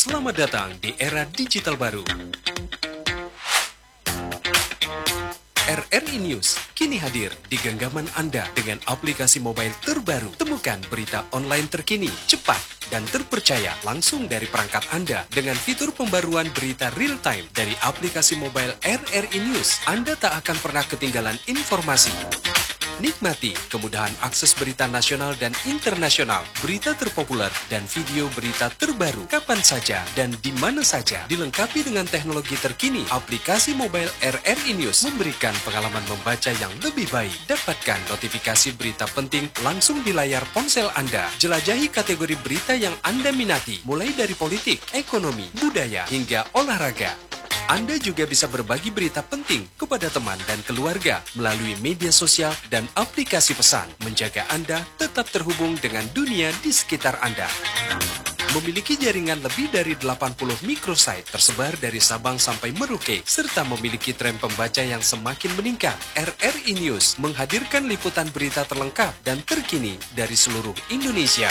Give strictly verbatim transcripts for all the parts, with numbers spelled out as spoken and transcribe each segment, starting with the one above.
Selamat datang di era digital baru. R R I News kini hadir di genggaman Anda dengan aplikasi mobile terbaru. Temukan berita online terkini, cepat, dan terpercaya langsung dari perangkat Anda dengan fitur pembaruan berita real time dari aplikasi mobile R R I News. Anda tak akan pernah ketinggalan informasi. Nikmati kemudahan akses berita nasional dan internasional, berita terpopuler, dan video berita terbaru kapan saja dan di mana saja. Dilengkapi dengan teknologi terkini, aplikasi mobile R R I News memberikan pengalaman membaca yang lebih baik. Dapatkan notifikasi berita penting langsung di layar ponsel Anda. Jelajahi kategori berita yang Anda minati, mulai dari politik, ekonomi, budaya, hingga olahraga. Anda juga bisa berbagi berita penting kepada teman dan keluarga melalui media sosial dan aplikasi pesan, menjaga Anda tetap terhubung dengan dunia di sekitar Anda. Memiliki jaringan lebih dari delapan puluh microsite tersebar dari Sabang sampai Merauke, serta memiliki tren pembaca yang semakin meningkat, R R I News menghadirkan liputan berita terlengkap dan terkini dari seluruh Indonesia.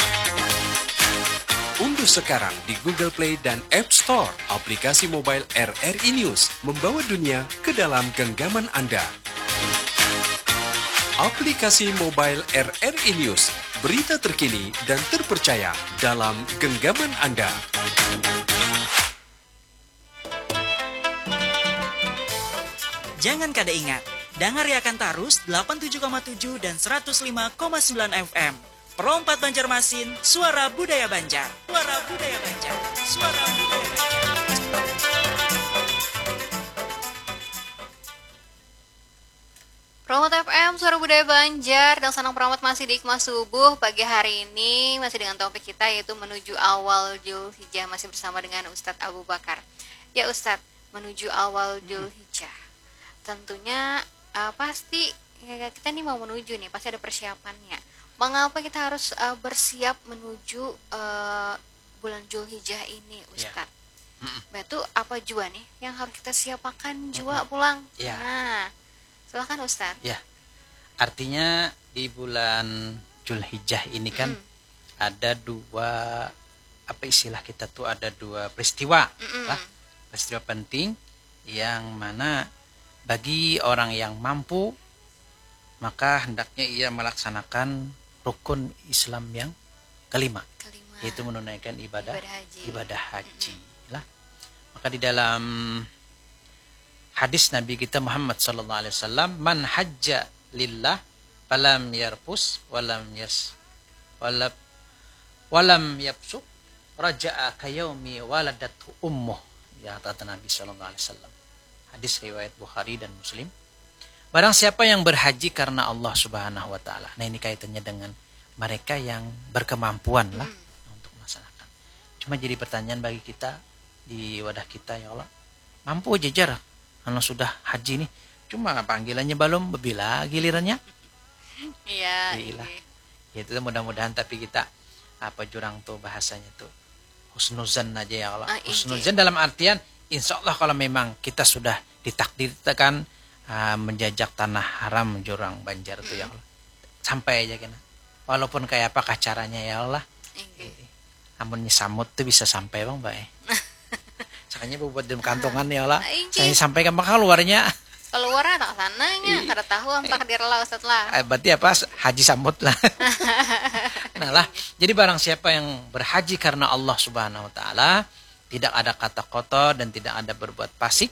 Unduh sekarang di Google Play dan App Store aplikasi mobile R R I News, membawa dunia ke dalam genggaman Anda. Aplikasi mobile R R I News, berita terkini dan terpercaya dalam genggaman Anda. Jangan kada ingat, dangariakan tarus delapan tujuh koma tujuh dan seratus lima koma sembilan F M. Pro empat Banjarmasin, suara budaya Banjar. Suara budaya Banjar. Suara budaya Banjar. Pro empat F M, suara budaya Banjar. Dan sanang Pro empat masih di Hikmah Subuh pagi hari ini, masih dengan topik kita, yaitu menuju awal Julhijjah. Masih bersama dengan Ustadz Abu Bakar. Ya Ustadz, menuju awal Julhijjah, tentunya, eh, pasti, ya, kita nih mau menuju nih, pasti ada persiapannya. Mengapa kita harus, eh, bersiap menuju, eh, bulan Julhijjah ini, Ustadz? Batu apa jua nih yang harus kita siapakan jua pulang? Ya. Nah, silakan Ustadz. Ya, artinya di bulan Julhijjah ini kan ada dua, apa istilah kita tuh, ada dua peristiwa lah, peristiwa penting yang mana bagi orang yang mampu maka hendaknya ia melaksanakan rukun Islam yang kelima, Kelima. Yaitu menunaikan ibadah Ibadah haji. Ibadah haji lah. Maka di dalam hadis Nabi kita Muhammad sallallahu alaihi wasallam, "Man hajja lillah falam yarfus walam yas walab walam yafsuq raja'a kayaumi waladathu ummuh." Ya, kata Nabi sallallahu alaihi wasallam. Hadis riwayat Bukhari dan Muslim. Barang siapa yang berhaji karena Allah Subhanahu wa taala. Nah, ini kaitannya dengan mereka yang berkemampuan lah untuk melaksanakan. Cuma jadi pertanyaan bagi kita di wadah kita, ya Allah. Mampu jajar kalau sudah haji nih. Cuma panggilannya belum, bila gilirannya? Iya. Iyalah. Ya itu mudah-mudahan, tapi kita apa jurang tuh bahasanya tuh, husnuzan aja ya Allah. Ah, inggih. Husnuzan dalam artian insya Allah kalau memang kita sudah ditakdirkan ah, menjajak tanah haram jurang Banjar tuh ya Allah. Sampai aja kena. Walaupun kayak apa caranya ya Allah. Inggih. Amunnya samut tuh bisa sampai bang bae. Sakanya buat dalam kantongan ya Allah. Ah, inggih. Sakanya sampai ke Mekah luarnya. Keluar tak sananya, kada tahu am takdir lah Ustadz lah. Eh, berarti apa? Haji samut lah. Nah lah, jadi barang siapa yang berhaji karena Allah Subhanahu wa taala, tidak ada kata kotor dan tidak ada berbuat fasik,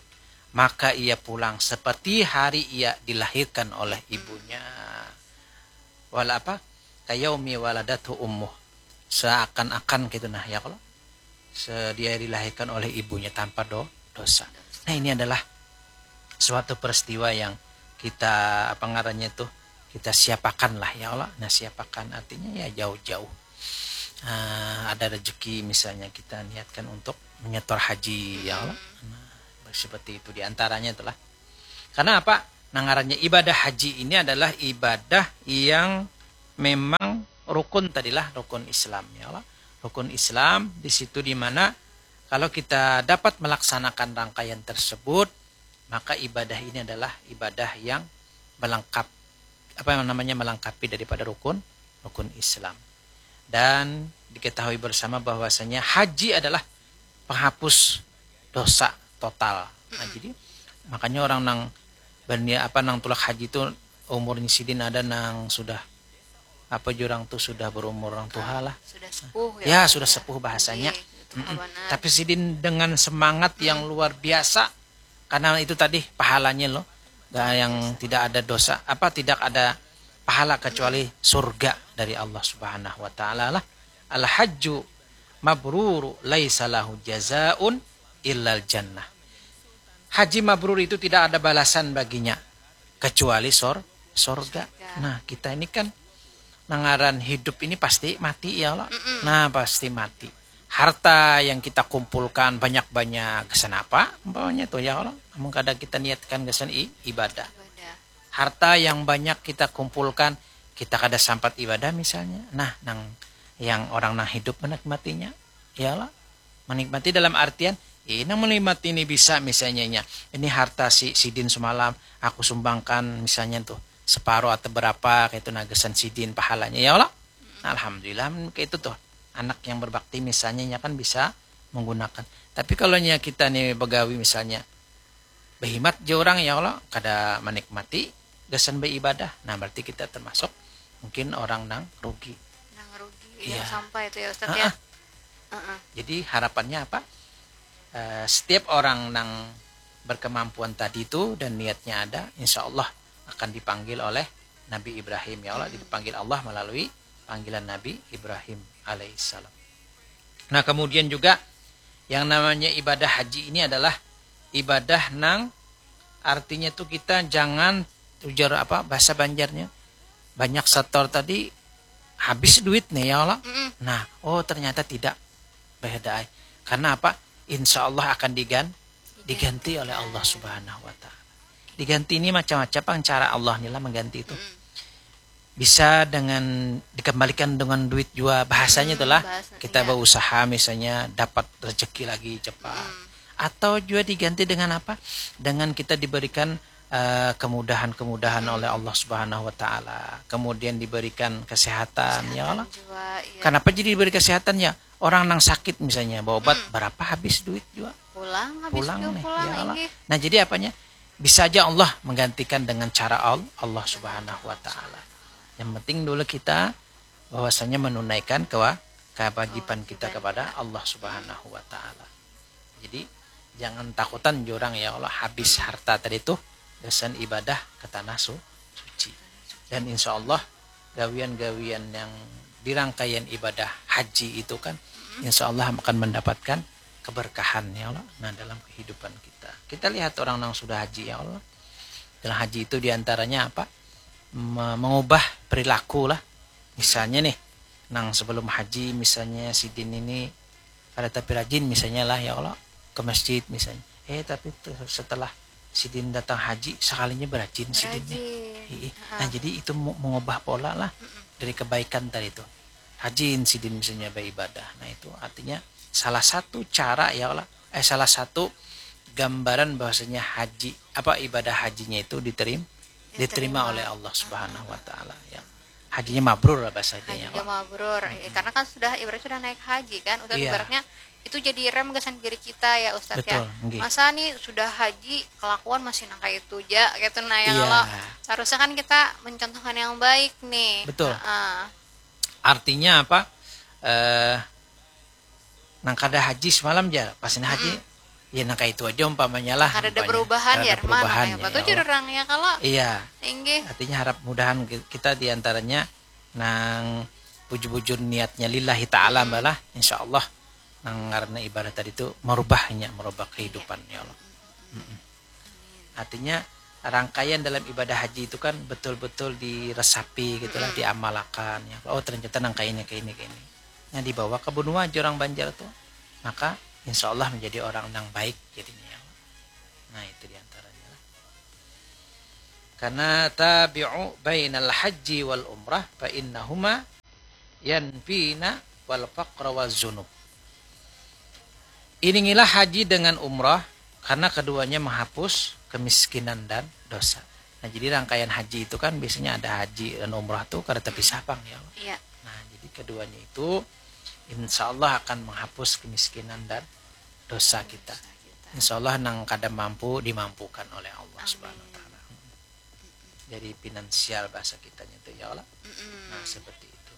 maka ia pulang seperti hari ia dilahirkan oleh ibunya. Wala apa? Kayaumi waladathu ummuh. Seakan-akan gitu nah ya kalau dia dilahirkan oleh ibunya tanpa do dosa. Nah, ini adalah suatu peristiwa yang kita, apa ngarannya tuh, kita siapakan lah ya Allah. Nah, siapakan artinya ya jauh-jauh. Ah, ada rezeki misalnya kita niatkan untuk menyetor haji ya Allah. Nah, seperti itu diantaranya itulah. Karena apa? Nah, ngarannya ibadah haji ini adalah ibadah yang memang rukun tadilah, rukun Islam ya Allah. Rukun Islam di situ di mana kalau kita dapat melaksanakan rangkaian tersebut, maka ibadah ini adalah ibadah yang melengkap, apa yang namanya, melengkapi daripada rukun rukun Islam. Dan diketahui bersama bahwasanya haji adalah penghapus dosa total. Nah, jadi makanya orang nang berniat apa, nang tulak haji tu umurnya sidin ada nang sudah apa, jurang tu sudah berumur orang tua lah. Sudah sepuh Ya, sudah sepuh bahasanya. Iya, itu benar. Tapi sidin dengan semangat yang luar biasa karena itu tadi pahalanya loh. Gak yang tidak ada dosa, apa, tidak ada pahala kecuali surga dari Allah Subhanahu wa taala lah. Al hajju mabruru laisa lahu jazaun illal jannah. Haji mabrur itu tidak ada balasan baginya kecuali sor sorga. Nah, kita ini kan nangaran hidup ini pasti mati ya Allah. Nah, pasti mati. Harta yang kita kumpulkan banyak-banyak, gasan apa umpamanya tuh ya Allah? Amun kada kita niatkan gasan i- ibadah. Ibadah. Harta yang banyak kita kumpulkan, kita kada sampat ibadah misalnya. Nah, nang yang orang nang hidup menikmatinya, ya Allah. Menikmati dalam artian, ini menikmati ini bisa misalnya nya. Ini harta si sidin semalam aku sumbangkan misalnya tuh separuh atau berapa, kayak itu, nah, gasan sidin pahalanya ya Allah. Nah, alhamdulillah, kayak itu tuh. Anak yang berbakti misalnya nya kan bisa menggunakan. Tapi kalau nya kita nih begawi misalnya, behimat je orang ya Allah, kada menikmati gasan beribadah. Nah, berarti kita termasuk mungkin orang nang rugi. Nang rugi Iya. Yang sampai itu ya Ustaz Ah, ya. ah. Jadi harapannya apa? Eh, setiap orang nang berkemampuan tadi itu dan niatnya ada, insya Allah akan dipanggil oleh Nabi Ibrahim ya Allah, dipanggil Allah melalui panggilan Nabi Ibrahim alaihissalam. Nah, kemudian juga yang namanya ibadah haji ini adalah ibadah nang artinya tuh kita jangan, ujar apa bahasa Banjarnya, banyak setor tadi habis duit nih ya Allah. Nah, oh, ternyata tidak, beda ai. Karena apa? Insya Allah akan digan diganti oleh Allah Subhanahu wa taala. Diganti ini macam-macam pang cara Allah nih lah mengganti itu. Bisa dengan dikembalikan dengan duit jua, bahasanya itulah bahasa- kita iya. berusaha misalnya dapat rezeki lagi cepat. Atau juga diganti dengan apa? Dengan kita diberikan eh, kemudahan-kemudahan oleh Allah Subhanahu wa taala. Kemudian diberikan kesehatan ya Allah. Juga, iya. Kenapa jadi diberi kesehatan ya? Orang nang sakit misalnya berobat, berapa habis duit juga? Pulang habis Pulang juga nih pulang ya Allah. Inggih. Nah, jadi apanya? Bisa aja Allah menggantikan dengan cara Al- Allah Subhanahu wa taala. Yang penting dulu kita bahwasanya menunaikan kewa- kewajiban kita kepada Allah Subhanahu wa taala. Jadi jangan takutan jurang ya Allah habis harta tadi tuh gasan ibadah ke tanah su- suci. Dan insya Allah gawian-gawian yang di rangkaian ibadah haji itu kan insya Allah akan mendapatkan keberkahan ya Allah. Nah, dalam kehidupan kita, kita lihat orang yang sudah haji ya Allah. Dalam haji itu diantaranya apa? Me- mengubah perilaku lah. Misalnya nih, nang sebelum haji misalnya sidin ini kada tapi rajin misalnya lah ya Allah ke masjid misalnya. Eh, tapi tuh setelah sidin datang haji sekalinya berajin sidin nih. Rajin. Ih, nah, jadi itu mu- mengubah pola lah dari kebaikan tadi itu. Rajin sidin misalnya beribadah. Nah, itu artinya salah satu cara ya Allah, eh, salah satu gambaran bahwasanya haji apa ibadah hajinya itu diterima diterima oleh Allah Subhanahu wa taala ya. Hajinya mabrur lah bahasanya ya Hajinya Allah. Mabrur. Eh, karena kan sudah ibaratnya sudah naik haji kan, Ustaz Iya. Ibaratnya itu jadi rem gasan diri kita ya Ustaz Betul, ya. Nggih. Masa nih sudah haji kelakuan masih nang kayak itu aja gitu nah ya Iya. Allah. Harusnya kan kita mencontohkan yang baik nih. Betul. Heeh. Artinya apa? Eh, nang kada haji semalam aja, pas ini haji, ya nang kayak itu aja umpamanya lah. Kada ada umpamanya. Perubahan Kada ya, ada mana perubahan kayak apa ya tuh Allah. Jurang ya kalau Iya, inggih. Artinya harap mudahan ki- kita diantaranya nang bujur-bujur niatnya lillahi ta'ala balah, insya Allah nang karena ibadah tadi itu merubahnya, merubah kehidupan ya Allah. Mm-mm. Artinya rangkaian dalam ibadah haji itu kan betul-betul diresapi gitulah, diamalakan ya. Oh, ternyata nang kayak ini, kayak ini, kayak ini. Nah, dibawa ke benua aja orang Banjar tuh, maka insya Allah menjadi orang nang baik jadinya ya. Nah, itu diantaranya lah. Karena tabi'u bainal haji wal umrah fa innahuma yanfina wal faqra waz zunub. Iringilah haji dengan umrah karena keduanya menghapus kemiskinan dan dosa. Nah, jadi rangkaian haji itu kan biasanya ada haji dan umrah tuh kada terpisah pang ya. Iya. Nah, jadi keduanya itu insya Allah akan menghapus kemiskinan dan dosa kita. Insya Allah nang kada mampu dimampukan oleh Allah Subhanahu wa Taala. Jadi finansial bahasa kitanya itu ya Allah. Nah, seperti itu.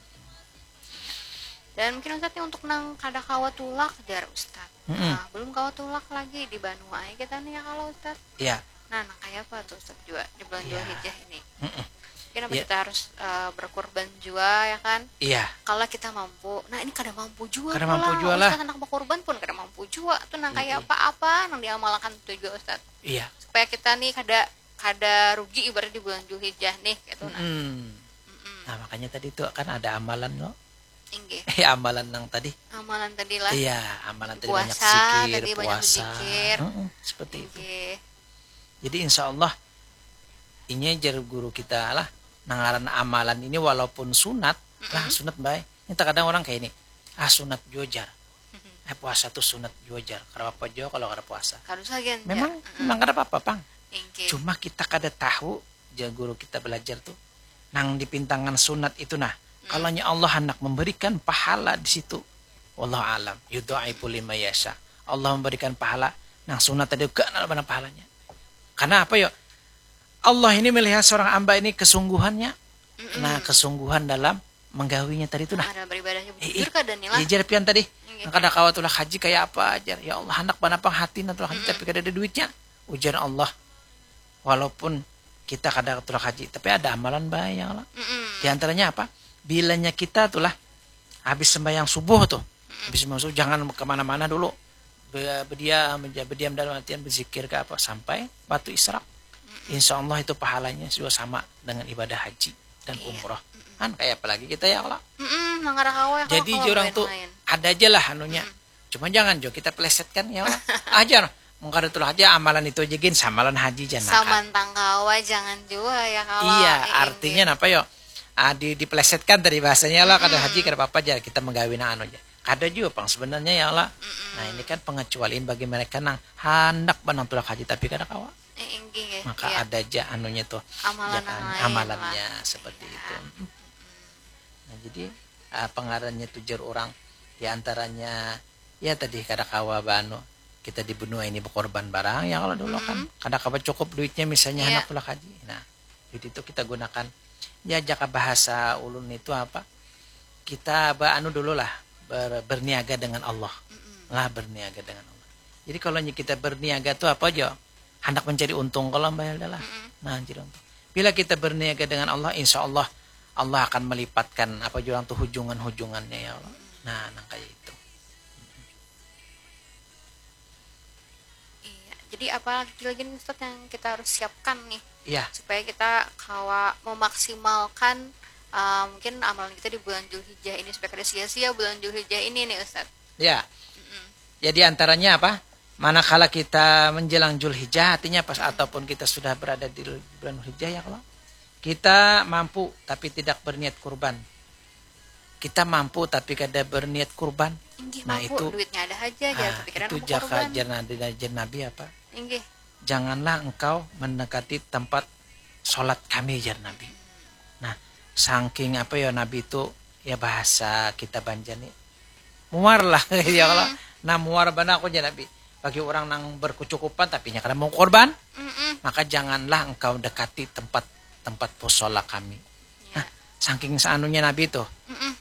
Dan mungkin Ustadz nih untuk nang kada kawa tulak jar Ustadz. Mm-mm. Nah, belum kawa tulak lagi di Banua aja kita nih ya kalau Ustadz. Iya. Nah, nang kayak apa tuh Ustadz juga di bulan Julhijjah ini? Mm-mm. Mungkin apa ya, kita harus uh, berkorban juga ya kan? Iya. Kalau kita mampu, nah ini kada mampu juga. Kada mampu juga lah. Ustadz anak berkorban pun kada mampu juga tuh nang kayak apa-apa nang diamalkan tuh juga Ustadz. Iya. Supaya kita nih kada kada rugi ibarat di bulan Julhijjah nih gitu nah. Mm-mm. Nah, makanya tadi tuh kan ada amalan loh. Inggih. Eh, amalan yang tadi. Amalan tadi lah. Iya, amalan tadi banyak zikir, tadi banyak puasa. Zikir. Mm-mm, seperti itu. Inggih. Jadi insya Allah ini jar guru kita lah, nangaran amalan ini walaupun sunat, lah sunat baik. Ini terkadang orang kayak ini, ah sunat jua jar. Eh puasa tuh sunat jua jar. Kada apa jua kalau kada puasa. Kada usah ganja. Memang, memang kada apa-apa pang. Inggih. Cuma kita kada tahu, jar guru kita belajar tuh, nang dipintangan sunat itu nah. Kalau nya Allah hendak memberikan pahala di situ, wallahu alam, yudhaifu liman yasha. Allah memberikan pahala nang sunat tadi ganal banar pahalanya. Karena apa yo? Allah ini melihat seorang hamba ini kesungguhannya. Nah, kesungguhan dalam menggawinya tadi itu nah. Ada beribadahnya bujur kada nih lah. Iya, jar pian tadi. Nang kada kawa tulak haji kayak apa ajar. Ya Allah, hendak banar pang hati nang tulak haji tapi kada ada duitnya. Ujar Allah, walaupun kita kada tulak haji, tapi ada amalan baik ya Allah. Di antaranya apa? Bilanya kita tuh lah habis sembahyang subuh tuh, habis sembahyang subuh jangan kemana-mana dulu. Be- Berdiam aja, berdiam dalam artian berzikir ke apa sampai waktu isyraq. Insya Allah itu pahalanya juga sama dengan ibadah haji dan umroh. Kan kayak apa lagi kita ya Allah. Mm-mm, nang kada kawa ya, jadi kalau orang tuh lain. Ada aja lah anunya. Cuma jangan jo kita plesetkan ya Allah. Ajar. Mun kada tulak haji amalan itu aja gin samalan haji jar nah kan. Samantang kawa jangan jua ya kawa. Iya, eh, artinya napa yo? Ah, di, diplesetkan tadi bahasanya lah, kada haji kada apa-apa jar kita menggawi nang anu aja. Kada jua pang sebenarnya ya Allah. Nah, ini kan pengecualian bagi mereka nang handak banar tulak haji tapi kada kawa. Eh, inggih ya. Maka ada aja anunya tuh. Amalan nang lain amalannya lah. Seperti itu. Nah, jadi apa ngarannya tuh jar orang di antaranya ya tadi kada kawa banu kita di benua ini berkorban barang ya kalau dulu kan kada kawa cukup duitnya misalnya anak tulak haji nah duit itu kita gunakan ya jaka bahasa ulun itu apa kita ba anu dulu lah ber, berniaga dengan Allah lah berniaga dengan Allah jadi kalau kita berniaga tuh apa aja hendak mencari untung kalau bayar lah nah jadi untung bila kita berniaga dengan Allah insya Allah Allah akan melipatkan apa jurang tuh hujungan-hujungannya ya Allah nah nang kayak itu iya jadi apa lagi lagi nih Ustaz yang kita harus siapkan nih ya supaya kita kawa memaksimalkan uh, mungkin amalan kita di bulan Julhijjah ini supaya kada sia-sia bulan Julhijjah ini nih Ustaz ya jadi antaranya apa manakala kita menjelang Julhijjah artinya pas ataupun kita sudah berada di bulan Julhijjah ya kalau kita mampu tapi tidak berniat kurban kita mampu tapi kada berniat kurban Inggih, nah mampu. Itu duitnya ada aja ah, pikiran itu jaka kurban. Jar nabi jar nabi apa Inggih. Janganlah engkau mendekati tempat sholat kami jar nabi nah saking apa ya nabi itu ya bahasa kita banjar nih muar lah ya kalau nah muar bana aku jar nabi bagi orang nang berkecukupan tapi nya kada mau korban maka janganlah engkau dekati tempat tempat posola kami nah saking saanunya nabi tuh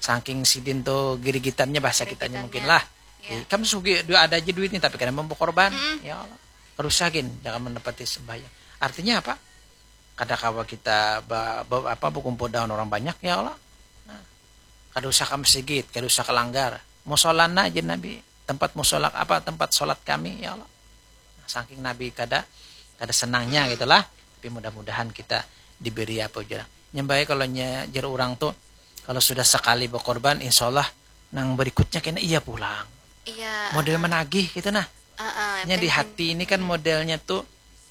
saking sidin tuh girigitannya bahasa kitanya mungkin lah eh, kamu sugi dua ada aja duit nih tapi kada mau berkorban ya Allah rusakin jangan menepati sembahyang artinya apa kada kawa kita ba, ba, apa berkumpul dengan orang banyak ya Allah nah, kada usah ke masjid kada usah ke langgar musolana aja nabi tempat musola apa tempat sholat kami ya Allah nah, saking nabi kada kada senangnya gitulah tapi mudah-mudahan kita diberi apa aja nyambai kalau nya jar orang tuh kalau sudah sekali berkorban insya Allah nang berikutnya kena iya pulang iya model menagih gitu nah uh, uh, nya di hati ini kan modelnya tuh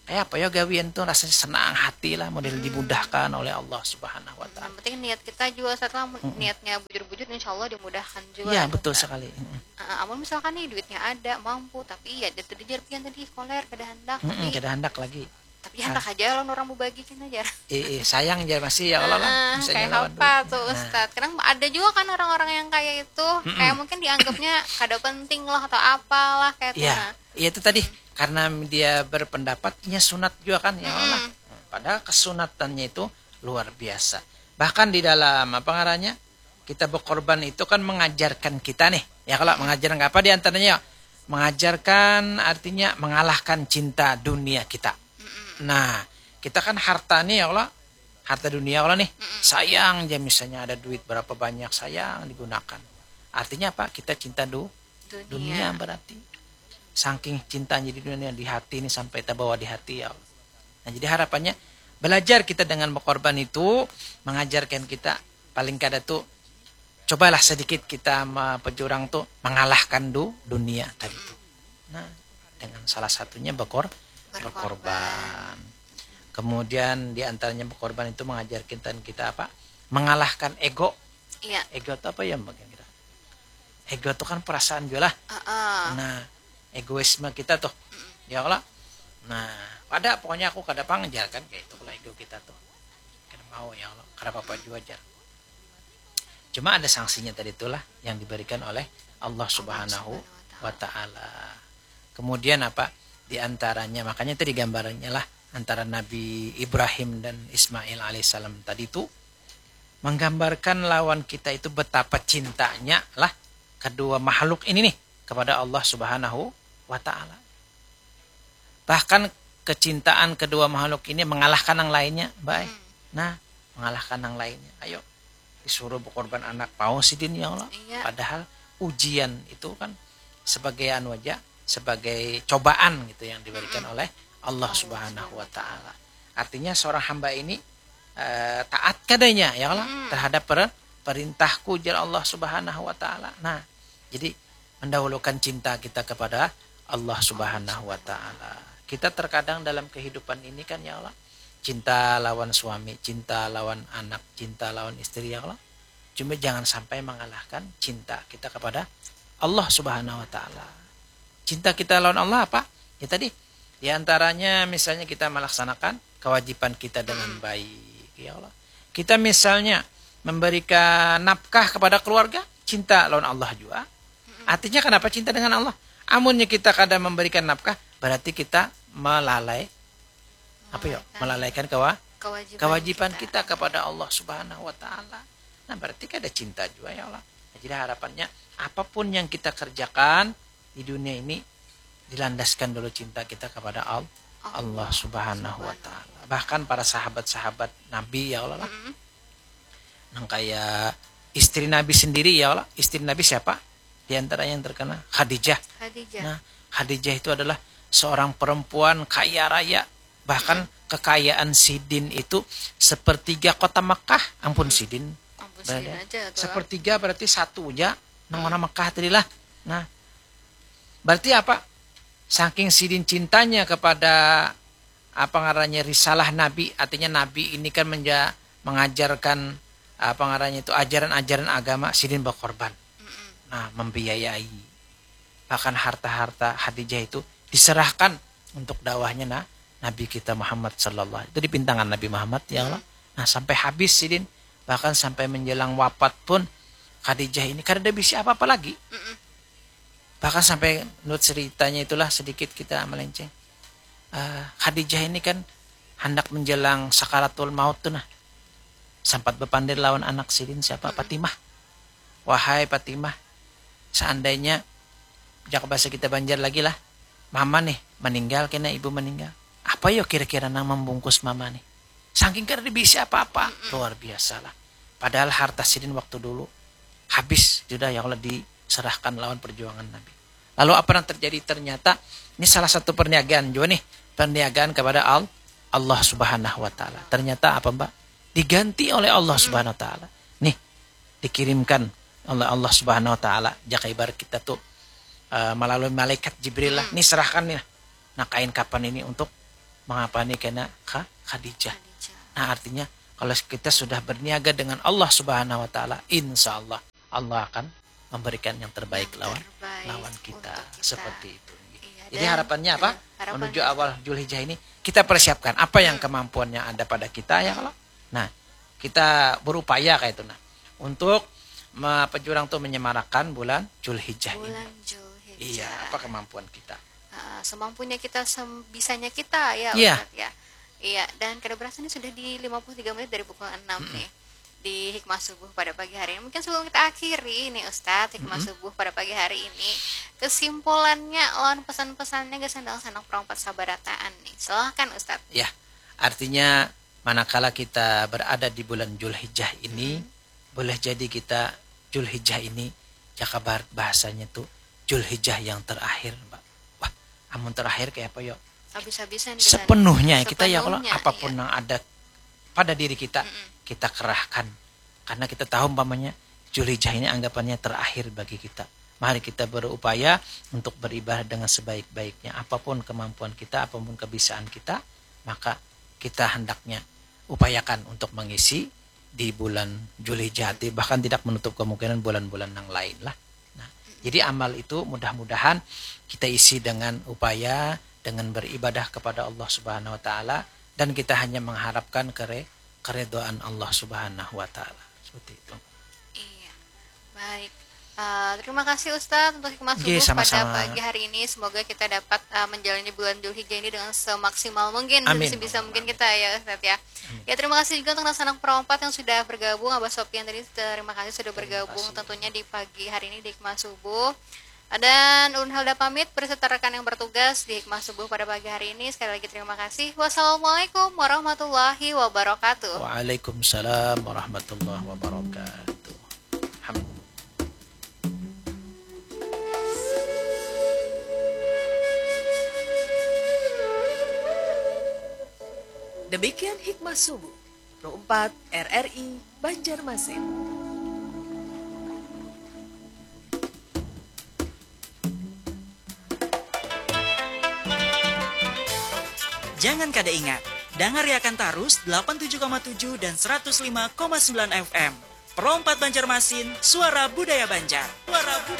kayak apa ya gawian tuh rasanya senang hati lah model hmm. Dimudahkan oleh Allah Subhanahu wa taala. Yang penting niat kita juga setelah hmm. Niatnya bujur-bujur insya Allah dimudahkan juga. Iya betul kan? Sekali. Hmm. Uh, amun misalkan nih duitnya ada mampu tapi ya itu dijar pian tadi koler kada hendak. Hmm, kada hendak lagi. Tapi handak aja lawan orang bebagi kena jar. Eh, eh, sayang jar masih ya Allah lah. Ah, kayak apa tuh Ustadz? Kadang ada juga kan orang-orang yang kayak itu, kayak mungkin dianggapnya kada penting lah atau apalah kayak itu. Iya, nah. Iya itu tadi karena dia berpendapat inya sunat juga kan ya Allah. Padahal kesunatannya itu luar biasa. Bahkan di dalam apa ngarannya kita berkorban itu kan mengajarkan kita nih. Ya kalau mengajarkan apa diantaranya? Mengajarkan artinya mengalahkan cinta dunia kita. Nah, kita kan harta nih ya Allah, harta dunia Allah nih. Sayang aja misalnya ada duit berapa banyak sayang digunakan. Artinya apa? Kita cinta du dunia, dunia berarti. Saking cintanya di dunia di hati ini sampai terbawa di hati ya Allah. Nah, jadi harapannya belajar kita dengan berkorban itu mengajarkan kita paling kada tuh cobalah sedikit kita pejurang tuh mengalahkan du dunia tadi tuh. Nah, dengan salah satunya berkor berkorban. Berkorban. Kemudian diantaranya berkorban itu mengajarkan kita apa? Mengalahkan ego. Iya. Ego itu apa ya bagian kita? Ego itu kan perasaan juga lah. Uh -uh. Nah, egoisme kita tuh. Mm -mm. Ya Allah. Nah, pada pokoknya aku kada pang jar kan kayak itu lah ego kita tuh. Kada mau ya Allah. Kada apa-apa juga jar. Cuma ada sanksinya tadi itulah yang diberikan oleh Allah Subhanahu wa taala. Kemudian apa? Di antaranya makanya tadi gambarannya lah antara Nabi Ibrahim dan Ismail alaihissalam tadi itu menggambarkan lawan kita itu betapa cintanya lah kedua makhluk ini nih kepada Allah Subhanahu wa taala. Bahkan kecintaan kedua makhluk ini mengalahkan yang lainnya, baik. Hmm. Nah, mengalahkan yang lainnya. Ayo, disuruh berkorban anak pau sidin ya Allah. Iya. Padahal ujian itu kan sebagai anu aja, sebagai cobaan gitu yang diberikan hmm. oleh Allah Subhanahu wa taala. Artinya seorang hamba ini eh, taat kadanya ya Allah hmm. terhadap per, perintahku jar Allah Subhanahu wa taala. Nah, jadi mendahulukan cinta kita kepada Allah Subhanahu wa taala. Kita terkadang dalam kehidupan ini kan ya Allah, cinta lawan suami, cinta lawan anak, cinta lawan istri ya Allah. Cuma jangan sampai mengalahkan cinta kita kepada Allah Subhanahu wa taala. Cinta kita lawan Allah apa? Ya tadi, di antaranya misalnya kita melaksanakan kewajiban kita dengan hmm. baik ya Allah. Kita misalnya memberikan nafkah kepada keluarga, cinta lawan Allah juga. Artinya kenapa cinta dengan Allah? Amunnya kita kada memberikan nafkah, berarti kita melalai apa ya? Melalaikan kewa kewajiban, kewajiban kita. Kita kepada Allah Subhanahu wa taala. Nah, berarti kada cinta juga ya Allah. Nah, jadi harapannya apapun yang kita kerjakan di dunia ini dilandaskan dulu cinta kita kepada Allah, Allah Subhanahu wa taala. Bahkan para sahabat-sahabat Nabi ya Allah lah. Mm -hmm. Nang kayak istri Nabi sendiri ya Allah. Istri Nabi siapa? Di antara yang terkena Khadijah. Khadijah. Nah, Khadijah itu adalah seorang perempuan kaya raya. Bahkan hmm. kekayaan sidin itu sepertiga kota Mekah. Ampun hmm. sidin. Ampun sidin aja tuh. Sepertiga berarti satu aja nang hmm. Mekah tadi lah. Nah, berarti apa? Saking sidin cintanya kepada apa ngarannya risalah Nabi, artinya Nabi ini kan menja mengajarkan apa ngarannya itu ajaran-ajaran agama, sidin berkorban. Mm -mm. Nah, membiayai. Bahkan harta-harta Khadijah itu diserahkan untuk dakwahnya nah, Nabi kita Muhammad sallallahu itu dipintangan Nabi Muhammad ya Allah. Mm. Nah, sampai habis sidin bahkan sampai menjelang wafat pun Khadijah ini kada ada bisi apa-apa lagi. Mm -mm. Bahkan sampai menurut ceritanya itulah sedikit kita melenceng. Uh, Khadijah ini kan hendak menjelang sakaratul maut tuh nah. Sempat berpandir lawan anak sidin siapa? Hmm. Fatimah. Wahai Fatimah, seandainya jak bahasa kita Banjar lagi lah, mama nih meninggal kena ibu meninggal. Apa yo kira-kira nang membungkus mama nih? Saking kada bisa apa-apa, luar biasa lah. Padahal harta sidin waktu dulu habis sudah ya Allah diserahkan lawan perjuangan Nabi. Lalu apa yang terjadi? Ternyata ini salah satu perniagaan juga nih, perniagaan kepada Allah Subhanahu wa taala. Ternyata apa, Mbak? Diganti oleh Allah Subhanahu wa taala. Nih, dikirimkan oleh Allah Subhanahu wa taala. Jaka ibarat kita tuh uh, melalui malaikat Jibril lah. Nih serahkan nih. Nah, kain kapan ini untuk mengapa nih kena Khadijah. Nah, artinya kalau kita sudah berniaga dengan Allah Subhanahu wa taala, insya Allah Allah akan memberikan yang terbaik yang lawan terbaik lawan kita, kita seperti itu. Iya, Jadi, harapannya apa? Menuju awal Julhijjah ini, kita persiapkan apa yang kemampuannya ada pada kita, ya, kalau. Nah, kita berupaya kayak itu, nah, untuk me-, apa, urang tuh menyemarakan bulan Julhijjah ini. Bulan Julhijjah. Iya, apa kemampuan kita? Ah, semampunya kita, sem-, bisanya kita, ya, Iya. Ustaz, ya. Iya, dan kada berasa ini sudah di lima puluh tiga menit dari pukul enam nih di Hikmah Subuh pada pagi hari ini. Mungkin sebelum kita akhiri nih, Ustaz, Hikmah Subuh pada pagi hari ini, kesimpulannya lawan pesan-pesannya gasan dalam sanak perompat sabarataan nih. Silahkan, Ustaz. Ya, artinya manakala kita berada di bulan Julhijjah ini, boleh jadi kita, Julhijjah ini, jaka barat bahasanya tuh Julhijjah yang terakhir, Mbak. Wah, amun terakhir kayak apa, yo? Habis-habisan di sana. Sepenuhnya, kita, ya, kalau Sepenuhnya, apapun iya. yang ada pada diri kita, kita kerahkan. Karena kita tahu, umpamanya, Julhijjah ini anggapannya terakhir bagi kita. Mari kita berupaya untuk beribadah dengan sebaik-baiknya. Apapun kemampuan kita, apapun kebisaan kita, maka kita hendaknya upayakan untuk mengisi di bulan Julhijjah, bahkan tidak menutup kemungkinan bulan-bulan yang lain lah. Nah, jadi amal itu mudah-mudahan kita isi dengan upaya, dengan beribadah kepada Allah Subhanahu wa Ta'ala, dan kita hanya mengharapkan kere-, keridhaan Allah Subhanahu wa Ta'ala. Seperti itu. Iya. Baik. Eh, terima kasih, Ustaz, untuk Hikmah Subuh pada pagi hari ini. Semoga kita dapat, eh, menjalani bulan Julhijjah ini dengan semaksimal mungkin dan Amin. sebisa mungkin kita, ya, Ustaz, ya. Ya, terima kasih juga untuk sanak perompat yang sudah bergabung. Abah Sopian tadi, terima kasih sudah bergabung tentunya di pagi hari ini di Hikmah Subuh. Dan ulun Helda pamit beserta rekan yang bertugas di Hikmah Subuh pada pagi hari ini. Sekali lagi terima kasih. Wassalamualaikum warahmatullahi wabarakatuh. Waalaikumsalam warahmatullahi wabarakatuh. Ham. Demikian Hikmah Subuh, Pro empat R R I Banjarmasin. Jangan kada ingat, dangariakan tarus delapan tujuh koma tujuh dan seratus lima koma sembilan F M. Pro empat Banjarmasin, suara budaya Banjar. Suara budaya